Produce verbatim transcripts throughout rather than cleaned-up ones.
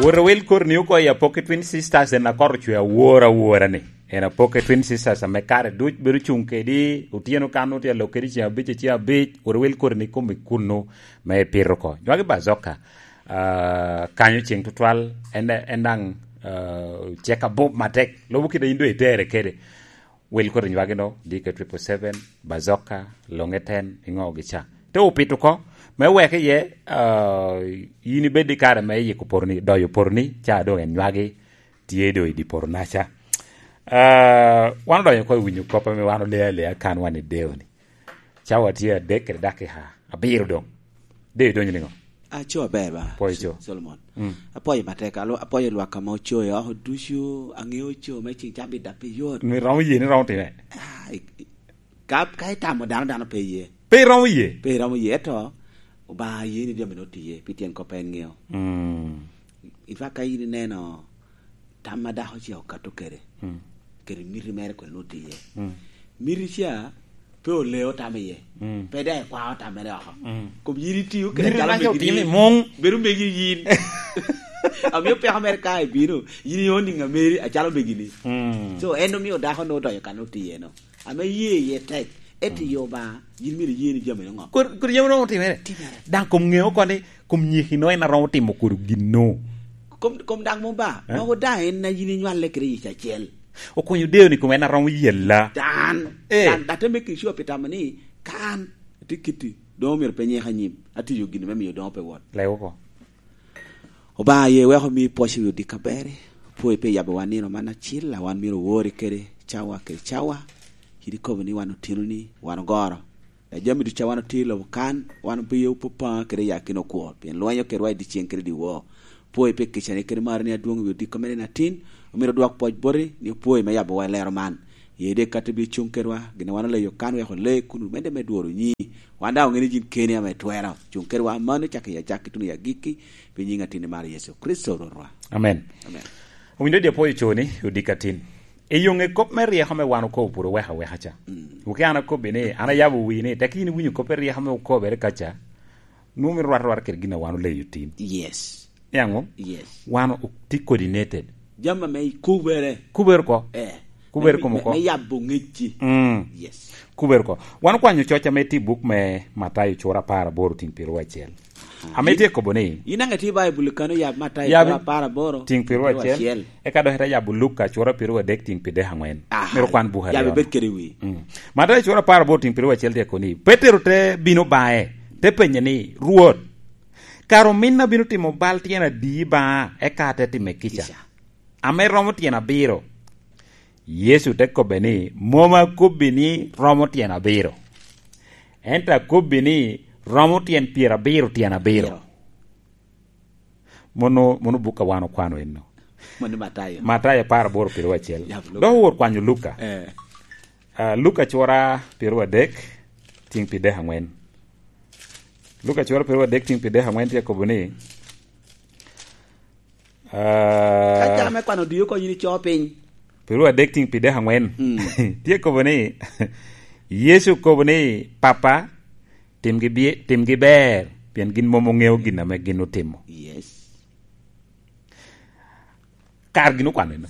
Wot awil koti ni oko i Apoki Twin Sisters, en akot ocwe awor awora ni. En Apoki Twin Sisters ame kare duc bedo cuŋ kedi, otyeno kan otye alok kedi ceŋ abic, ceŋ abic, wot awil koti ni kom i kunnu me pito oko. Nywagi Bazoka, ah, kanyo ceŋ tutwal, en, en daŋ, ah, cek abup matek. Lubo kite in doŋ itere kede. Wil koti nywagi no, D K triple seven, Bazoka, Longe ten, iŋo gi ca. Te opito oko, me wek iye, ah, in ibed i kare me yiko poroni, doyo poroni, ca doŋ en nywagi tye doŋ i di poronaca. Ah, wan odonyo oko i winyo kop ame wan olea alea kan wan i deo ni. Cawa tye adek kede dakika abiro doŋ. Deo idonyo niŋo? Aco aber ba, Pwoyo co. Solomon. Mm. Apwoyo matek, alo-, apwoyo lwak ame oco i oko ducu, aŋeo co me cing cabit dap i yot. Ni romo ye, ni romo time. Ah, i-, i-, ka, ka itamo dano, dano pe ye. Pe iromo ye? Pe iromo ye, eto Obaŋa ye ni jami no tiye, pi tyen kop en ŋeo. Mm. In fact, ka in ineno tam a dako ce okato kede, Mm. kede miti mere kwene no tiye. Mm. Miti ca pe oleo tam iye, Mm. pe daŋ ekwao tam mere oko. Mm. Kom yin itio kede Miti acalo man ca megi otimo ni, i muŋ. Bedo megi yin. Amio peko mere ka ibino, yin ionyo niŋ ameri acalo megi ni. Mm. So, en omio dako no odonyo kan no tiye no. Ame ye iye tek, ento Mm. i Obaŋa, yin myero iye ni jami no ŋo? Kur, kur jami no otimere. Timere. Daŋ kom ŋeo oko ni, kom nyikino en a romo timo kodi gin no. Kom, kom daŋ mom ba, Eh? Mogo daŋ en a yin inywale kede yic acel. Okonyo deo ni kom en a romo yella. Dan, Eh. Dan, dan te make sure pi tamo ni, kan, atye kiti, doŋ omyero pe nyeka anyim, atiyo gin me miyo doŋ pe wot. Lego oko. Obaŋa ye weko mi pwoc i wi odika beri, pwoyo pe yabo wan nino man acil, a wan myero owori kede cawa kede cawa, kit ikobo ni wan otino ni, wan ogoro. A jami ducu a wan otye i lobo kan, wan obiyo popaŋa kede yakino okwo, pien lwenyo kedwa i dyeceŋ kede dyewor. Pwoyo pe kicani kede marani adwoŋ i wi odiko mere na tin, omyero odwok pwoc boti, ni opwoyo me yabowa i lero man. Ye de kati bi cuŋ kedwa, gin a wan oleyo kan wek ole kun omedde me dworo nyi. Wan daŋ oŋeni yin keni ame twero. Cuŋ kedwa mano cak i acakki tuno i agikki, pi nyiŋ atin i mar Yecu Kricito Rwotwa. Amen. Amen. Owinyo di apwoyo coni, odika tin. I yoŋe kop me ryeko ame wan okobo pwod oweka weka ca. Mm. Wuki an akobbi ni, an ayabo wii ni, tek yin iwinyo kop me ryeko ame okobere ka ca, nwoŋo mito rwat rwat kede gin a wan oleyo tin. Yes. Niaŋo? Yes. Wan o-, tye coordinated. Jami ame ikubere. Kubere ko. Eh. Kubere Me, kom me, oko. Me yabo ŋecci. Mm. Yes. Kubere ko. Wan okwanyo coc ame tye i buk me Matayo cura apar aboro tiŋ pyeraryo acel. Aha. Ame tye kobo ni. In aŋe tye i Baibul kano yab Matayo cura apar aboro tiŋ pyeraryo acel. Eka dok ite yabo Luka cura pyeraryo adek tiŋ pyeraryo aŋwen. Aha. Myero kwan buka aryo. Yab ibed kede wi. Mm. Matayo cura apar aboro tiŋ pyeraryo acel tye kobo ni. Petero te bino baŋe, te penye ni, "Rwot, kara ominna bino timo bal tyen adi baŋa, eka ate time kica? Kica. Ame romo tyen abiro?" Yecu te kobbe ni, "Mom akobbi ni romo tyen abiro. Ento akobbi ni romo tyen pyerabiro tyen abiro." Abiro. Mono, mono buk a wan okwano enno. Mano Matayo. Matayo apar aboro pyeraryo acel. Yab Luka. Dok owor kwanyo Luka. Eh. Ah, Luka cura pyeraryo adek, tiŋ pyeraryo aŋwen. Luka cura pyeraryo adek, tiŋ pyeraryo aŋwen tye kobo ni, ah, ka jam me kwano odie oko yin ico piny. Pyeraryo adek, tiŋ pyeraryo aŋwen. Mm. Tye kobo ni, Yecu kobo ni, "Papa, timgi bie-, timgi ber, pien gin mom oŋeo gin ame gin otimo." Yes. Kar gin okwano eno.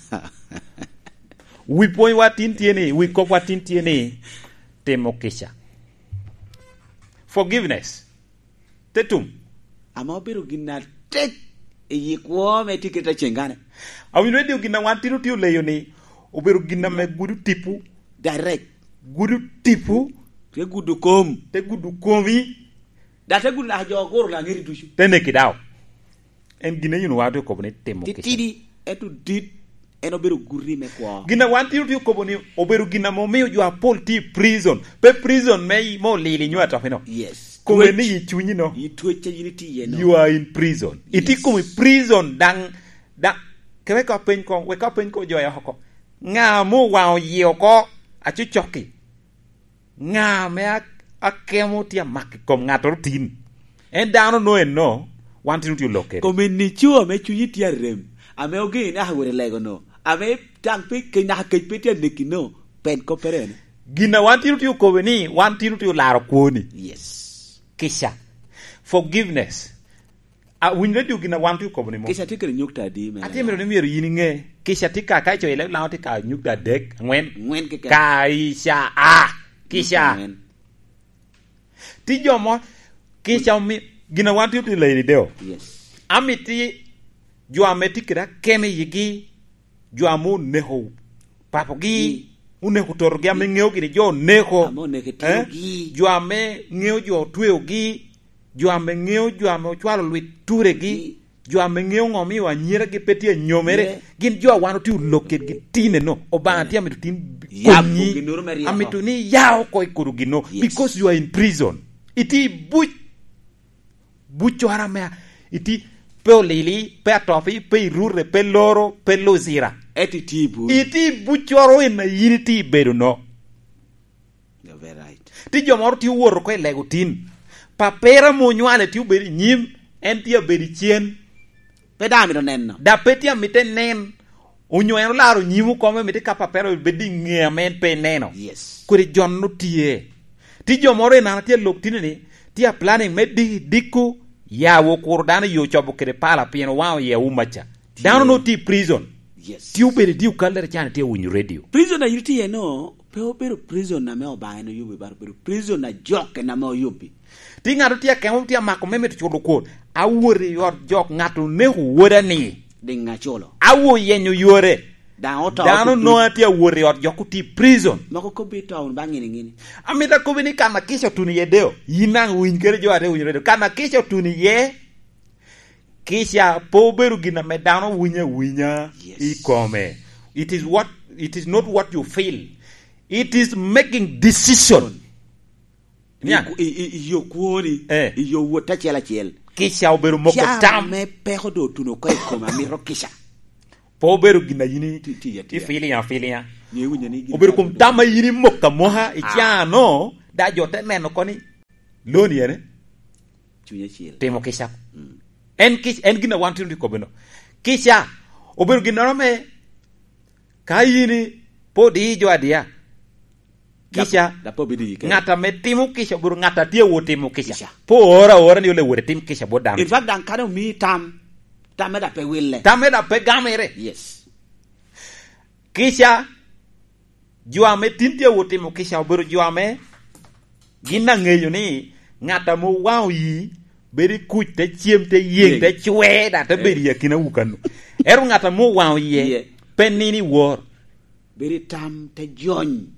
Wi pwonywa tin tye ni, wi kopwa tin tye ni, timo kica. Forgiveness. Te tum. Ame obedo gin atek i yi kwo me tye kede aceŋane. Awinyo ni gin a wan tin otye oleyo ni, obedo gin ame gudo tipo. Direct. Gudo tipo. Te gudo kom. Te gudo komi. Da te gudo naka jo oguro laŋeri ducu. Te neki dawo. En gin a yin wa otye okobo ni timo kica. Titidi, ento dit, en obedo guti me kwo. Gin a wan tye otye okobo ni obedo gin ame omio jo apol tye i prison. Pe prison me, me olili nyo atopino. Yes. Kome ni i cunyi no. I twec a yin itye iye no. You are in prison. Yes. Itye i kom i prison daŋ, daŋ, ke wek apeny ko, wek apeny ko jo ya oko. Ŋa mo waŋ oye oko, acucokki? Ŋa ame a-, akemo tye amako i kom ŋattoro tin? En dano no enno, wan tin otye olok kede. Kom eni co ame cunyi tye arem, ame ogeŋi naka wot i lego no, ame taŋ pe ke-, naka kec pe tye aneki no, pen koppere ene. Gin a wan tin otye okobe ni, wan tin otye olaro kwoni. Yes. Kica. Forgiveness. A, winy radio gin a wan tye okobo ni mo. Kica tye kede nyukta adi me Atye mito ni myero yin iŋe. Kica tye ka, ka icoyo i leb Laŋo tye ka nyukta adek, angwen. Angwen keken. Ka ica a. Kica. Angwen. Tye jo mo, kica omi-, gin a wan tye otye leyoni deo. Yes. Amiti jo ame tye kede akemo i yigi, jo ame oneko papogi, oneko totogi, ame ŋeo gini jo oneko. Ame oneko eh? Tinogi. Jo ame ŋeo jo otweogi, jo ame ŋeo jo ame ocwalo lwit turegi, jo ame ŋeo ŋo omio anyiragi pe tye anyomere, gin jo a wan otye olok kedgi tineno. Obaŋa tye amito tin konyi, amito ni iya oko i kodo gino, yes, because you are in prison. Itye i buc, buccoro ame a-, itye pe olili, pe atopi, pe irute, pe loro, pe luzira. Ento itye i buc. Itye i buccoro en a yin itye i bedo no. You're very right. Tye jo moro tye owoto oko i lego tin. Papere ame onywale tye obedo i nyim, en tye abedo i cen. Pe daŋ amito neno. Da pe tye amito nen. Onyo en olaro nyim okome, mito ka papere obed i ŋe ame en pe eneno. Yes. Kodi jon otye. Tye jo moro i nana tye alok tine ni, tye a planning me di-, diko, ya wo kuro dano i yo cobo kede pala pien owaŋo iye umaca. Dano no tye i prison. Yes. Tye obedo i di okallere can tye winyo radio. Prison a yin itye iye no, pe obedo prison ame Obaŋa en oyubi, but obedo prison a jok en ame oyubi. Tye ŋat tye akemo, tye amako me mito culo kwon. Awot i ot jok, ŋat oneko woda ni. Diŋ aculo. Awo yenyo yore. Daŋ oto. Dano nongo tye awot i ot jok otye i prison. Moko kobbi to wun ba ŋini ŋini. Amito akobbi ni kan akica otuno iye deo. Yin daŋ winy kede jo ate winyo redio. Kan akica otuno iye. Kica pe obedo gin ame dano winyo awinya, yes, i kome. It is what, it is not what you feel. It is making decision. Niaŋ. I, i, i yo kwoni, eh, i yo wot acel acel. Kica obedo moko tam. Cam me peko do otuno oko i kome, amito kica. Pe obedo gin a yin i-, ti-, ti-, ti-, ifiliya, filiya. Obedo kom tam a yin imoko amoka, ah, i cano, da jo te neno koni. Loni ene? Cuny acel. Timo kica. Mm. En kic-, en gin a wan tino tye kobbe no. Kica obedo ginnoro me ka yin i-, pe odiyi jo adiya. Kica, da pe obedo i kare. Ŋat ame timo kica obedo ŋat a tye awot timo kica. Kica. Pe ooro aora ni ole wot itim kica bot dano. In fact, daŋ kadi omii tam, tamme da pe wille. Tamme da pe gamere. Yes. Kica, jo ame tin tye awot timo kica obedo jo ame gin aŋeyo ni ŋat ame owaŋo yi bedo i kuc, te cem, te yeŋ, yeŋ, te cwe, da te bedo i akinawu kano. Ento ŋat ame owaŋo yie, iye, pe nino i wor. Bedo i tam, te jony.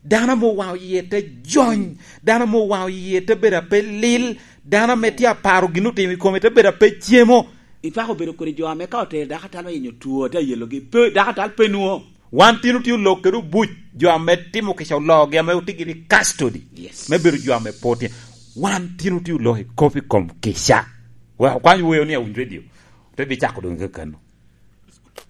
Dano ame owaŋo yie te jony, dano ame owaŋo yie te bedo ape lil, dano ame tye aparo gin otimo i kome te bedo ape cemo. Ipako bedo kodi jo ame ka otero dako atal me yenyo two, te ayelogi, pe, dako atal pe nwoŋo. Wan tin otye olok kede obuc, jo ame timo kica oloogi, ame otye giri i custody, yes, me bedo jo ame pe otye. Wan tin otye olok i kop i kom kica. Wek okwany weo ni awiny radio, te bicako doŋ kakano.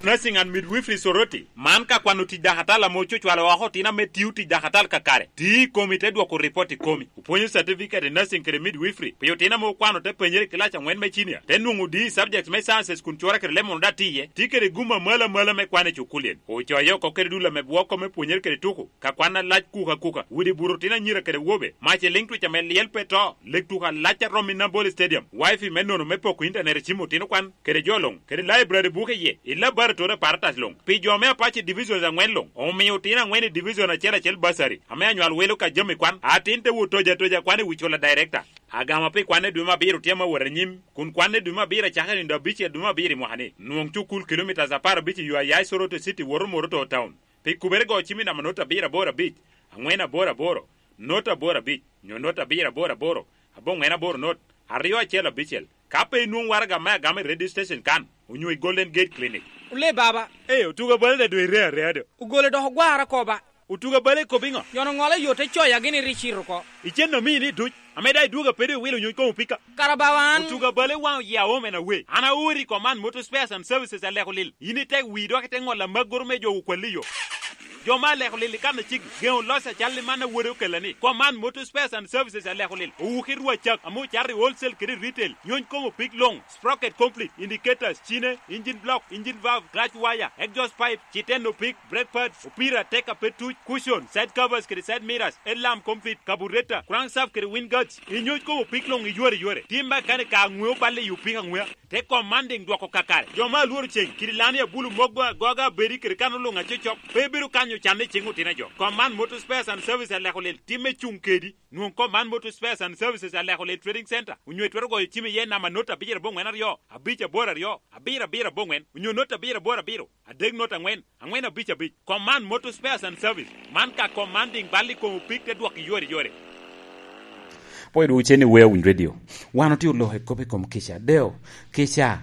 Nursing and Midwifery Soroti, man ka kwano tic dakatal ame ococwalo oko otino ame tio tic dakatal kakare, ti i komi te dwoko ripot i komi. Opwonyo certificate i nursing kede midwifery pi otino ame okwano te penyere i kilac angwen me cinia, te nwoŋo D E subject me sciences kun cwora kede lemon da tiye, ti kede gum amalo amalo me kwan i cukulien. Ocoyo oko kede dul ame bwoko me pwonyere kede tuko, ka kwan alac kuka kuka, widi buto otino anyira kede wobe, mac i liŋ twic ame lyel pe to, leg tuko alac a romo i Nambole Stadium, wifi me nono me poko intanet i cim otino kwan, kede jo luŋ, kede laibrari buke iye, i laboratory apparatus luŋ. Pi jo me apac i divisions aŋwen luŋ, omio otino aŋwen i division acel acel bursary, ame anywal wilo ka jami kwan, atin te wot toja toja kwan i wi cula director. Agama pi kwanne dwe me abiro tye ame awot anyim, kun kwanne dwe me abiro acakere nino abicel dwe me abiro i mwaka ni. Nwoŋ cukul kilomitas apar abic i yo a ya i Soroti City woto Moroto Town. Pi kubere go cim i namba not abiro aboro abic, aŋwen aboro aboro, not aboro abic, nyo not abiro aboro aboro, aboŋwen aboro not, aryo acel abicel. Ka pe inwoŋ waraga me agama i radio station kan, onyo i Golden Gate Clinic. Ole baba. Ee, otuga bale da dwe ire areya do. Ogole dok ogwara koba. Otuga bale ikobo iŋo? Yono ŋolo yo te coya gini ri cito oko. Icen omii ni duc, ame da idwoga pe do iwilo nyuc koŋ opika. Kara bawa an. Otuga bale waŋ oye aom en awe. An aori i Command Motor Spares and Services aleko lil. In itek wii dok ite ŋolo amaggoro me jo okwalli yo. Jo me aleko lil i kan aciki, geŋo loc acal i man a wode okella ni, Command Motor Spares and Services aleko lil, owuki rwacak ame ocato i wholesale kede i retail, nyony kom opik luŋ, sprocket complete, indicators, cine, engine block, engine valve, clutch wire, exhaust pipe, citen opik, brake pads, opira, tek a pe tuc, cushion, side covers kede side mirrors, headlamp complete, carburetor, crankshaft kede wind guards, inyony kom opik luŋ iyore yore. Tim makanika aŋweo balle i opik aŋwea. Te Commanding dwoko kakare. Jo me alworo ceng, kidi lani abulu mogo agoga abedi kede kan oluŋ acocok, pe bedo kanyo canne i ceng otino a jo. Command Motor Spares and Services aleko lil timme cuŋ kedi. Nwoŋ Command Motor Spares and Services aleko lil Trading Center, onyo itwero goyo cim iye namba not abicel aboŋwen aryo, abic aboro aryo, abiro abiro aboŋwen, onyo not abicel aboro abiro, adek not aŋwen, aŋwen abic abic. Command Motor Spares and Service. Man ka Commanding bal i kom opik te dwok iyore yore. Pwod wun cen i Wea Winy Radio. Wan otye oloko i kop i kom kica. Deo, kica.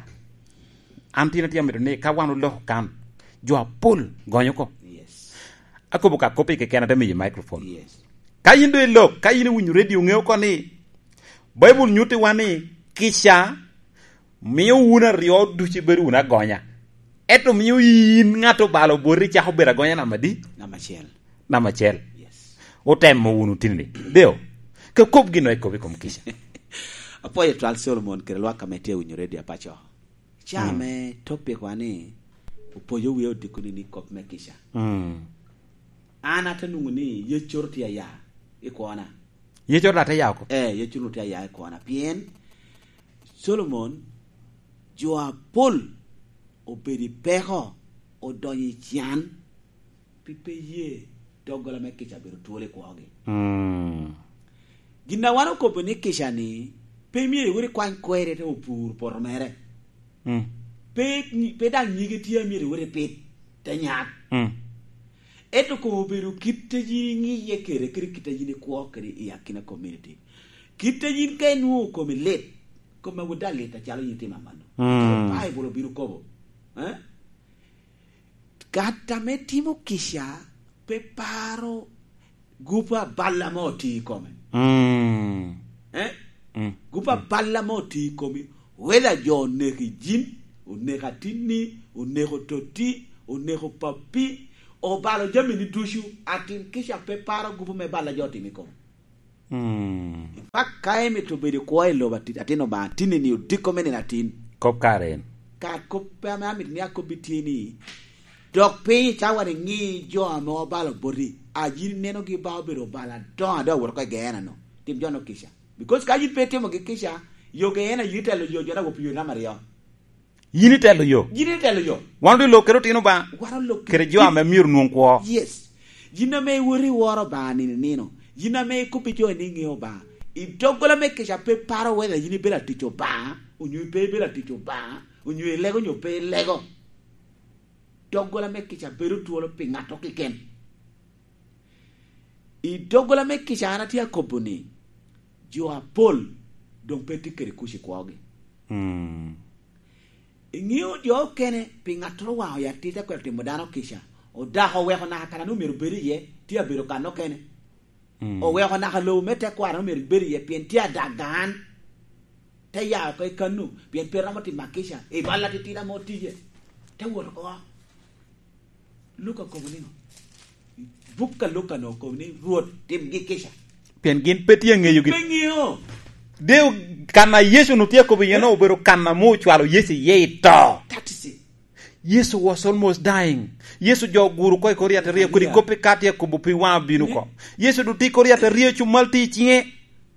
An tin atye amito ni ka wan oloko kan, jo apol gonyo oko. Yes. Akobo ka kop i keken ate miyo microphone. Yes. Ka yin do ilok, ka yin iwinyo radio, ŋeo oko ni Baibul nyuttiwa ni kica mio wun aryo ducu ibedo wunu agonya. Ento mio yin ŋat obalo boti icako bedo agonya namba adi? Namba acel. Namba acel. Yes. Otemo wunu tini. Deo, ke kop gin o ekobo i kom kica. Apwoyo twal Solomon kede lwak ame tye winyo redio apaco. Ca mm. Ame topic wa ni opoyo wie odikoni ni kop me kica. Mm. An ate nwoŋo ni yecoro tye aya i kwona. Yecoro ate ya oko? Eh, yecoro tye aya i kwona. Pien Solomon, jo apol obedo i peko, odonyo i can, pi pe ye doggola me kica bedo twolo i kwogi. Mm. Gin a wan okobo ni kica ni, pe myero iwot ikwany kweri te opur poto mere. Mm. Pe, pe daŋ nyige tye a myero iwot ipit te nyak. Mm. Ento koŋ obedo kit a yin iŋiye kede, kede kit a yin ikwo kede i akina community. Kit a yin ka inwoŋo komi lit, kome wot daŋ lit acalo yin itimo amanno. Mm. Baibul obino kobo. Eh? Gat ame timo kica pe paro gupu aballa mo otio i kome. Mm. Eh? Mm. Gupu aballa mo otio i komi. Whether jo oneko yin, oneko atinni, oneko totti, oneko pappi, obalo jamini ducu, atin kica pe paro gupu me balla jo otimo i kome. Mm. In fact, ka imito bedo i kwo i lobo ati-, atin Obaŋa, tin-ni odiko me nino atin. Kop kare en. Kar kop ame amito ni akobbi tye ni, dok piny i cawa ni ŋi jo ame obalo boti, a yin inenogi ba obedo obalo adoŋo a doŋ owoto oko i Geena-nu. Tim jo-nu kica. Because ka yin pe itimogi kica, yo Geena yin itelo yo, jo daŋ wop yo namba aryo. Yin itelo yo. Yin itelo yo. Wan odilo kede otino ba. Wan olok kede jo ame myero nwoŋ kwo. Yes. Yin ame iwot iworo Obaŋa nino nino. Yin ame ikobbi jo ni iŋeo Obaŋa. I doggola me kica pe paro whether yin ibedo atic Obaŋa, onyo pe ibedo atic Obaŋa, onyo ilego onyo pe ilego. Doggola me kica bedo twolo pi ŋato keken. I doggola me kica an atye akobo ni, jo apol doŋ pe tye kede kuc i kwogi. Mm. Iŋeo jo okene, pi ŋattoro waŋ oya atit akwero timo dano kica, odako oweko naka kan ame omyero obed iye, tye abedo kan okene. Mm. Oweko naka lobo me tekwaro ame omyero ibed iye, pien tye adaga an. Te ya oko i kannu, pien pe romo timo kica, i bal atitidi ame otiye. Te wot oko. Luka okobo niŋo? Buk a Luka-nu okobo ni, "Rwot, timgi kica." Pien gin pe tye aŋeyogi. Pe ŋeo. Deo, kan a Yecu-nu tye akobo iye-nu obedo kan ame ocwalo Yecu iye i to. That is it. Yesu was almost dying. Yecu jo oguro oko i kor yat aryo, kodi koppi ka tye akobo pi waŋ abino oko. Yecu doŋ tye i kor yat aryo, cumal tye i ciŋe.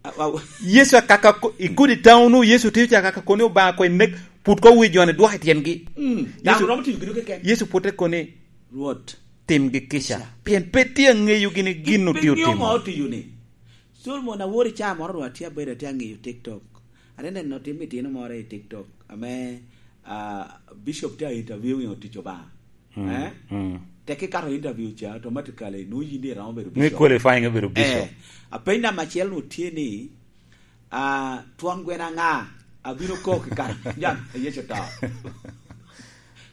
A-, a-, Yecu akaka ko-, i kodi taunu, Yecu tye akaka koni Obaŋa ko inek, put ko wi jo-ni dwok i tyengi. Mm. Daŋ Yecu, romo timo gino keken. Yecu pwod te koni, "Rwot, timgi kica." Kica. Pien pe tye aŋeyogi ni gin otio timo. Pe ŋeo ŋo otiyo ni. Solomon awor i caa moro ru atye abedo atye aŋeyo TikTok. Ate neno tim itino moro i TikTok ame, ah, Bishop tye a interviewing otic Obaŋa. Mm, eh? Mm. Tek ikato interview ca, automatically nwoŋo yin iromo bedo bishop. Nwoŋo qualifying obedo bishop. Eh, apeny namba acel nwoŋo tye ni, ah, twon gweno aŋa abino kok i kare jam a Yecu oto?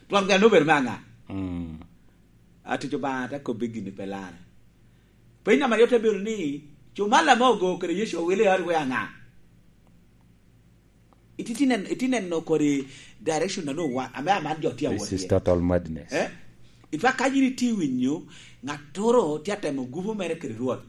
Twon gweno nwoŋo obedo me aŋa? Mm. Atic Obaŋa te kobbi gini pe lare. Peny namba aryo te bedo ni, cumal ame ogo kede Yecu owile i ot wea aŋa? Iti-, iti nen-, iti neno kodi direction a nwoŋo wa-, ame aman jo tye awot iye. This is total madness. Eh? Itwa ka yin itye winyo, ŋattoro tye atemo gubo mere kede Rwot.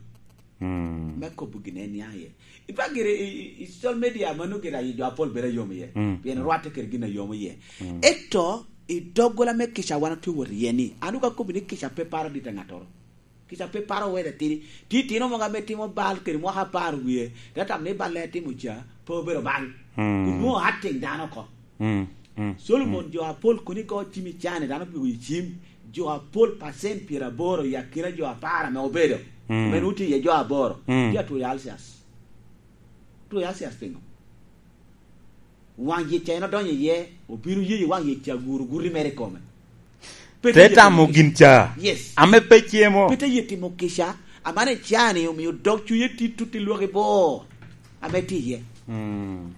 Mm. Me kobo gin en nia iye. Itwa gire i, i, i social media mano gire ayi jo apol bedo ayom iye. Mm. Pien rwatte kede gin ayom iye. Mm. Ento i doggola me kica wan otye wot iye ni, an ka kobo ni kica pe paro dit a ŋattoro. Kica pe paro wede tidi. Ti tino mogo ame timo bal kede mwaka apar wie, te tam ni balle timo ca, pe obedo bal. Mm. Kun nwoŋo acting dano oko. Mm, mm, Solomon, mm. Jo apol kun igo cim i cani, dano opigo i cim, jo apol pacent pyeraboro i akina jo apar ame obedo, mm. Ame nwoŋo tye iye jo aboro, mm. Tye atwoyo ulcers. Atwoyo ulcers piŋo? Waŋ yec ca en odonyo iye, obino yeyo waŋ yec ca guro guti mere i kome. Pe te tamo gin ca. Yes. Ame pe cemo. Pe te ye timo kica, amane cani omio dog cunye tye tuti lwaki bor. Ame tye iye. Mm.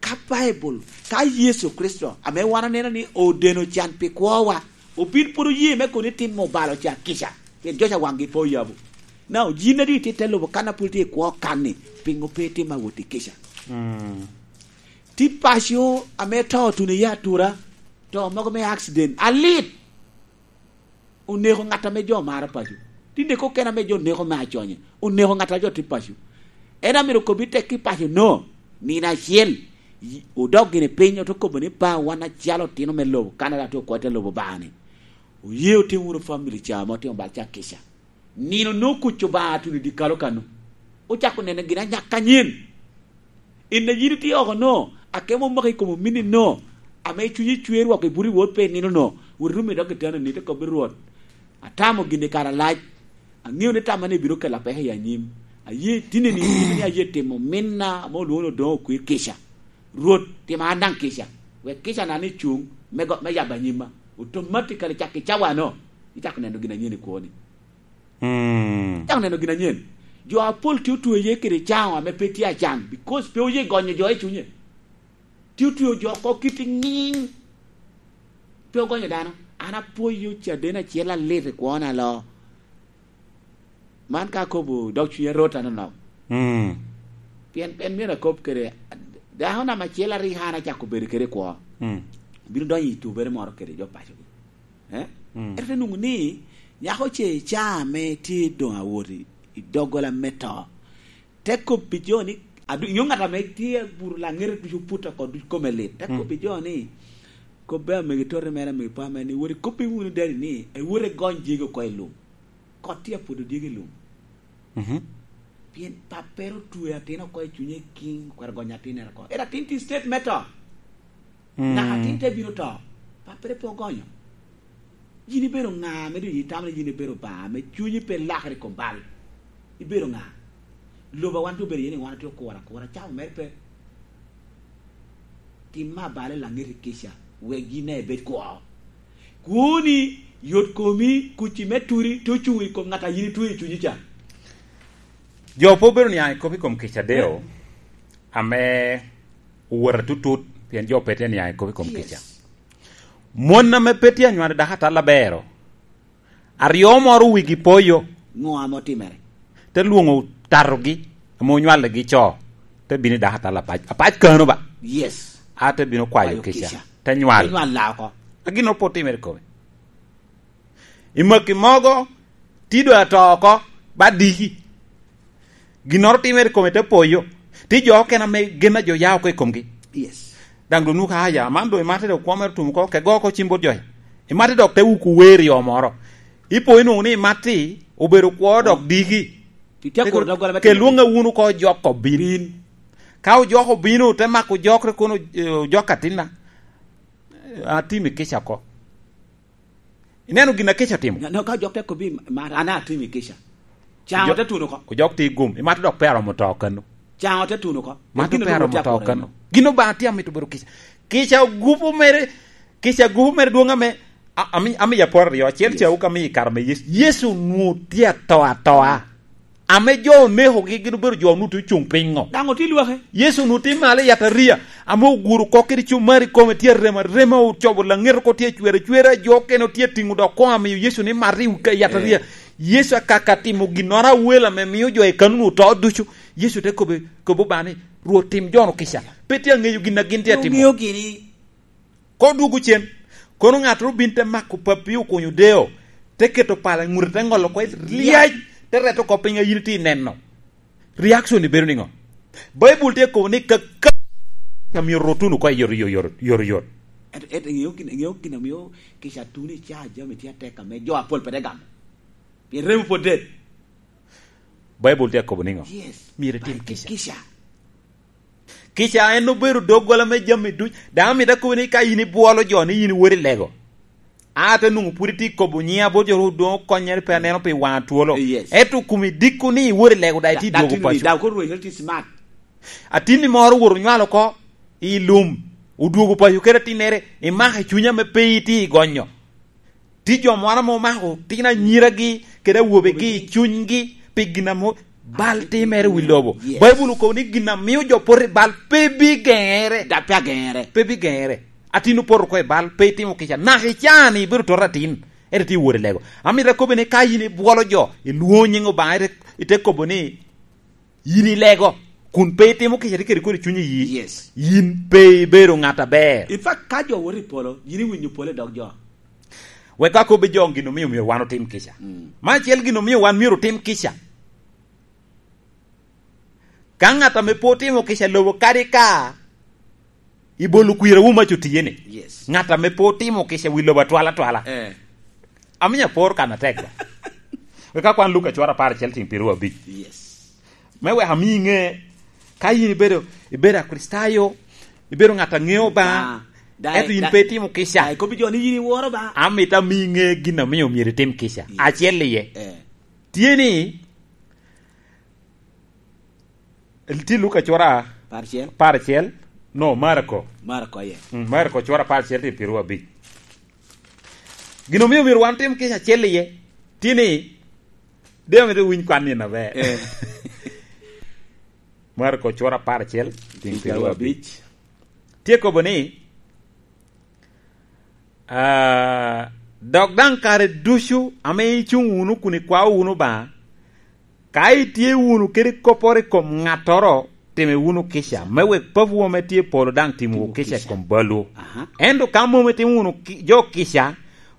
Ka Baibul, ka Yecu Kricito, ame wan oneno ni odeno can pi kwowa, obin pwod oye me kono itimo balo ca kica, pien jo ca waŋgi pe oyabo. Na ojin adi itye te lubo kan a pwod tye i kwo kan-ni, piŋo pe itimo awot i kica? Mm. Ti paco ame to otuno iye atura, to mogo me accident, alit. Oneko ŋat ame jo maro paco. Ti neko kene ame jo neko me aconye. Oneko ŋat a jo tye paco. En amito kobbi tek i paco no, nino acel, yi-, odok gini piny, ote kobo ni, "Pa, wan acalo otino me lobo, Canada tye okwo te lobo Obaŋa-ni. Oye otim wunu family ca ame otimo bal ca kica." Nino no kuc Obaŋa atuno i dyekalo kano. Ocako neno gin anyak anyen. In a yin itye oko no, akemo omaki i kom ominni no, ame cunyi cwer wok ibuto i wot pe i nino no, wot irum i dog kitanda ni, ite kobbi, "Rwot, atamo gin i kare alac. Aŋeo ni tamma ni bino kela peko i anyim. Aye tinni ni, in ni aye timo minna ame olwoŋo ni Odoŋo Okwir kica. Rwot, tima an daŋ kica. Wek kica na ni cuŋ me go-, me yabo anyimma." Automatically cak i cawa no, icako neno gin anyen i kwoni. Mm. Cako neno gin anyen. Jo apol tye otweye kede caŋo ame pe tye acaŋ, because pe oye gonyo jo i cunye. Tye otweyo jo oko kit i ŋiŋ. Pe ogonyo dano. An apwoyo caden acel alit i kwona alo. Man ka akobo dog cunya rot anonok. Mm. Pien, pien myero akob kede dako nam acel aryo an acako bedo kede i kwo. Mm. Bino donyo i tubere moro kede jo pacogi. Eh? Mm. Ento te nwoŋo ni nyako ce i caa ame tye doŋ awot i, i doggola me to, te kobbi jo ni, adu-, inyo ŋat ame tye abuto laŋete ducu put oko ducu kome lit. Te, mm, kobbi jo ni, kobbe amegi tote mere, amegi pa mere ni, "Wot ikobbi wunu dadi ni, ewot egony dyegi oko i lum." Kot tye apwodo dyegi i lum. Mhm. Pien pappere otwe atin oko i cunye i kiŋ, okwero gonyo atinere oko. Ero atin tye state me to. Mm. Naka atin te bino to, pappere pe ogonyo. Yin ibedo ŋa ame doŋ itamo ni yin ibedo Obaŋa ame cunyi pe lakere i kom bal? Ibedo ŋa? Lobo a wan tye obedo iye ni wan otye okuro akura, cawa mere pe. Tim me abalo i laŋeti kica, wek yin daŋ ibed kwo. Kwoni, yot komi, kuc-ci me turi, te ocuŋ i kom ŋat a yin itweyo i cunyi ca. Jo pe obedo niaŋ i kop i kom kica deo, eh, ame owot atutut, pien jo pe tye niaŋ i kop i kom, yes, kica. Mon ame pe tye anywalo dako atal aber, aryo moro wigi poyo. Ŋo ame otimere? Te lwoŋo tatogi ame onywaligi co, te bino i dako atal apac. Apac kano ba? Yes. A te bino kwayo, kwayo kica, kica. Te nywal. Te nywal la oko. A gin pe otimere kome. I maki mogo, ti doŋ ato oko, ba diki. Ginnoro timere i kome te poyo. Ti jo okene ame gen a jo ya oko i komgi. Yes. Daŋ doŋ nwoŋo ka, "Aya, man doŋ imate dok kwo mere otum oko, ke go oko cim bot jo. Imate dok te wuku wer i yo moro." Ipo inwoŋo ni imatti, obedo kwo dok diki. Itye akuro doggola me ke timo lwoŋe wunu oko ojok obin. Bin. Ka ojok obino, te mako ojokre kono, eh, ojok atinna. Atimi kica oko. Ineno gin a kica otimo? No, ka ojok te kobbi, "Ma-, an atimi kica." Caŋo te tuno oko. Ojok tye i gum, imate dok pe aromo to kano. Caŋo te tuno oko. Mato pe aromo to kano. Gin Obaŋa tye amito bedo kica. Kica gupu mere, kica gupu mere dwoŋ ame, a-, ami-, amiya pworo aryo, acel, yes, ca wuka amiyo i kare me Yecu. Yecu onwoŋo tye ato atoa. Ame jo onekogi gin obedo jo onwoŋo tye ocuŋ piny ŋo? Daŋ otye lwake. Yecu onwoŋo tye malo i yataria, ame oguro oko kede cumari kome tye arem arema, ocobo laŋet oko tye acwer acwera, jo okene otye atiŋo dok koŋ amiyo Yecu ni mat i yataria. Eh. Yecu akaka timo ginnoro awel ame mio jo i kanunu oto ducu. Yecu te kobbe, kobbe Obaŋa ni, "Rwot, tim jo-nu kica. Pe tye aŋeyo gin a gin tye atimo." Oŋeo gini. Koŋ dwogo cen. Kono ŋattoro bin te mako pappi okunyo deo, te keto pala i ŋute, te ŋolo oko lyec, te reto oko piny a yin itye neno. Reaction ni bedo niŋo? Baibul tye kobo ni kaka myero rot wunu oko i yot, yot, yot, yot, yot. Ento, ento iŋeo gin, iŋeo gin omio kica tuno i caa jami tye atek ame jo apol pe te gamo? Pien remo pwod det. Baibul tye akobo niŋo? Yes. Myero itim kica. Kica. Kica en obedo doggola me jami duc. Daŋ amito akobo ni ka in ibwolo jo ni in iwot i lego, a te nwoŋo pwod itye kobo nyiŋa bot jo ru doŋ okonyere pe aneno pi waŋa twolo. Yes. Ento kumi diko ni iwot i lego daŋ itye dwogo paco. Daŋ koro rweny tye smart. Atinni moro owoto onywalo oko i lum, odwogo paco kede atinnere, imako i cunya me pe itye i gonyo. Tye jo moro ame omako tin anyiragi kede awobegi i cunygi pi gin ame bal timere i wi lobo. Yes. Baibul okobo ni gin a mio jo poto i bal pe bigeŋere. Dok pe ageŋere. Pe bigeŋere. Atin opoto oko i bal, pe itimo kica. Naka i caa-ni ibedo toto atin, ento tye wot i lego. Amito akobbi ni ka in ibwolo jo, ilwoŋo nyiŋ Obaŋa, ite, ite kobo ni, yin ilego, kun pe itimo kica, tye kede kodi cuny iyi. Yes. Yin pe ibedo ŋat aber. In fact, ka jo woto i polo, yin iwinyo polo i dog jo. Wek akobbi jo gin omio myero wan otim kica. Mm. Me acel, gin omio wan myero otim kica. Ka ŋat ame pe otimo kica lobo kadi ka i bolo kwirawu mac otiye ni, yes, ŋat ame pe otimo kica wi lobo atwal atwala. Eh. Amio apor kan atek ba. Wek akwan Luka cwara apar acel tiŋ pyeraryo abic. Yes. Me wek ami iŋe, ka yin ibedo, ibedo Akricitayo, ibedo ŋat a ŋeo Obaŋa, ah, ento yin pe itimo kica. Daŋ ikobbi jo ni yin iworo Obaŋa. Amito ami iŋe gin omio myero itim kica. Yes. Acel iye. Eh. Tye ni, tye Luka cwara apar acel. Apar acel. No, Marko. Marko, aye. Mm, Marko cwara apar acel tiŋ pyeraryo abic. Gin omio myero wan tim kica acel iye, tye ni, de omito winy kwan ni na ber. Eh. Marko cwara apar acel tiŋ pyeraryo abic. Tye kobo ni, ah, dok daŋ kare ducu ame icuŋ wunu kun ikwao wunu Obaŋa, ka itye wunu kede kopporo i kom ŋattoro, time wunu kica, me wek Papawu ame tye i polo daŋ timwu kica i kom balwu. Aha. Ento ka mom itimo wunu ki-, jo kica,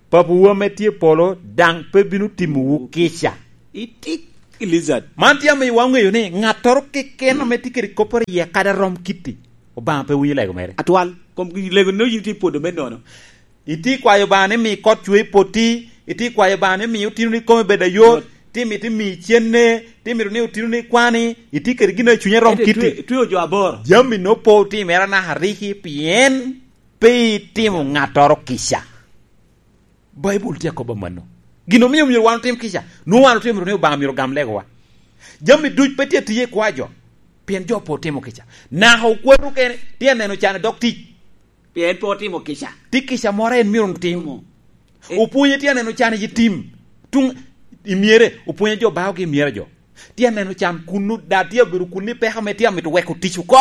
Papawu ame tye i polo daŋ pe bino timowu kica. Itik i lizard. Man tye amiyo waŋeyo ni ŋattoro keken ame tye kede kopporo iye kadi arom kitti, Obaŋa pe winyo lego mere. Atwal, kom lego no yin tye i pwodo me nono. Itye kwayo Obaŋa ni mi kot cwe i potti, itye kwayo Obaŋa ni mi otinoni kome bed ayot, yot, tye mito mi cenne, tye mito ni otinoni kwani, itye kede gin a cunye rom kitti. Ento itwe-, itweo jo aboro. Jami no pe otimere anaka riki pien pe itimo ŋattoro kica. Baibul tye akobo mano. Gin omio myero wan otim kica, nwoŋo wan otimo ni Obaŋa myero ogam legowa. Jami duc pe tye atiye i kwa jo, pien jo pe otimo kica. Naka okwatu kene, tye aneno can i dog tic. Pien pe otimo kica. Tye kica moro en myero otim. Timo. Eh. Opwonye tye aneno can i tim. Tuŋ i myere, opwonye jo baogi i myere jo. Tye aneno can kunnu, da tye abedo kunnu i peko ame tye amito weko tic oko.